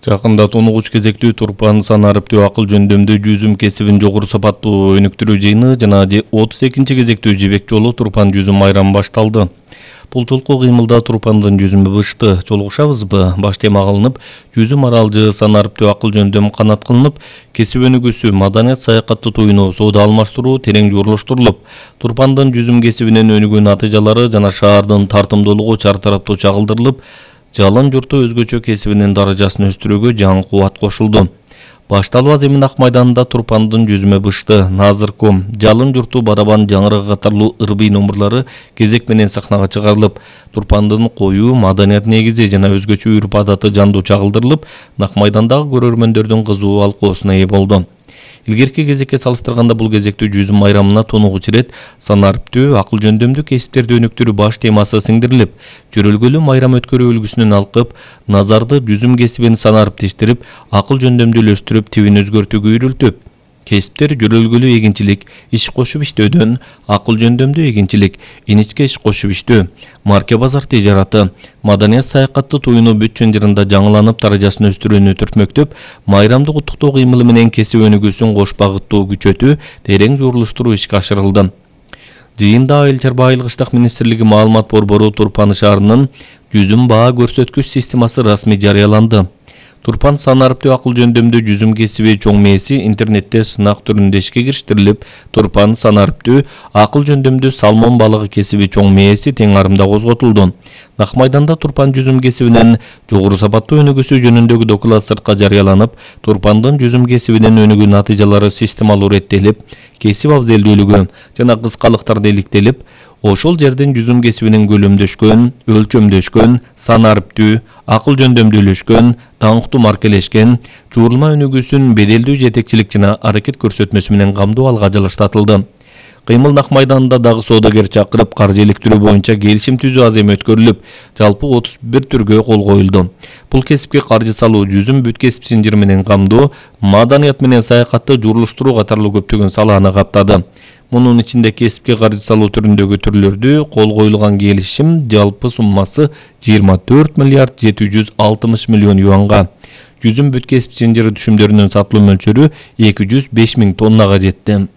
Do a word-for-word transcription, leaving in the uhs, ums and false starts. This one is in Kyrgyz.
Жакында тонугуч кезектүү Турпан санариптүү акыл жөндөмдүү жүзүм кесибин жогору сапаттуу өнүктүрүү жыйыны жана отуз экинчи кезектүү жибек жолу Турпан жүзүм майрамы башталды. Бул жолку кыймылда Турпандын жүзүмү бышты. Жолугушабызбы? Баш тема кылынып, жүзүм аралжы санариптүү акыл жөндөм канат кылынып, кесип өнүгүүсү, маданият саякаты туюну, соода алмаштыруу терең журулуштурулуп, Турпандын жүзүм кесибинен өнүгүү натыйжалары жана шаардын тартымдуулугу чар тараптуу чагылдырылып, жалын журту өзгөчө кесибинин даражасын өстүрүүгө жаңы кубат кошулду. Башталуу аземин ак майданында Турпандын жүзүмө бышты, Назырком, жалын журту, барабан, жаңырыгы катарлуу ырбый номурлары кезек менен сахнага чыгарылып, Турпандын коюу, маданият негизи жана өзгөчө үрп адаты жандуу чагылдырылып, нак майдандагы көрөрмөндөрдүн кызуу алкоосуна ээ болду. Илгерки кезекке салыштырганда бул кезектүү жүзүм майрамына тонугуч ирет санариптүү акыл жөндөмдүү кесиптерди өнүктүрүү баш темасы сиңдирилип, жөрөлгөлүү майрам өткөрүү үлгүсүнөн алкып, назарды жүзүм кесибин санариптештирип, акыл жөндөмдүүлөштүрүп, тибин өзгөртүүгө үйрөлтүп, кесиптер жөрөлгөлүү эгинчилик, иш кошуп иштөөдөн, акыл жөндөмдүү эгинчилик, иничке иш кошуп иштөө, марке базар тижараты, маданият саякатты туюну бүт чынжырында жаңыланып даражасын өстүрүүнү түртмөктөп, майрамдык куттуктоо кыймылы менен кесип өнүгүүсүн кош багыттуу күчөтүү, терең журулуштуруу ишке ашырылды. Жыйында Айыл чарба айыл кыштак министрлиги маалымат борбору Турпан шаарынын жүзүм баа көрсөткүч системасы расмий жарыяланды. Турпан санариптүү акыл жөндөмдүү жүзүм кесиби чоң мээси интернетте сынак түрүндө ишке кириштерилип, Турпан санариптүү акыл жөндөмдүү салмон балыгы кесиби чоң мээси тең арымда козготулду. Нак майданда Турпан жүзүм кесибинин жогору сапаттуу өнүгүүсү жөнүндөгү доклад сыртка жарыяланып, Турпандын жүзүм кесибинин өнүгүү натыйжалары системалуу реттелип, кесип абзелдүүлүгү жана кыскалыктарды иликтелип, ошол жердин жүзүм кесибинин көлөмдөшкөн, өлчөмдөшкөн, санариптүү, акыл жөндөмдүүлөшкөн, таңктуу маркелешкен, жуурулма өнүгүүсүн беделдүү жетекчилик жана аракет көрсөтмөсү менен камдоо алга жылыштатылды. Кыймыл нак майданында дагы соодагер чакырып, каржы иликтирүү боюнча келишим түзүү аземи өткөрүлүп, жалпы отуз бир түргө кол коюлду. Бул кесипке каржы салуу, жүзүм бүт кесип синжири менен камдоо, маданият менен саякатты журулуштуруу катарлуу көптөгөн салааны каптады. Мунун ичинде кесипке каржы салуу түрүндөгү түрлөрдү кол коюлган келишим жалпы суммасы жыйырма төрт миллиард жети жүз алтымыш миллион юанга. Жүзүм бүт кесип синжири түшүмдөрүнүн сатылуу мөлчөрү эки жүз беш миң тоннага жетти.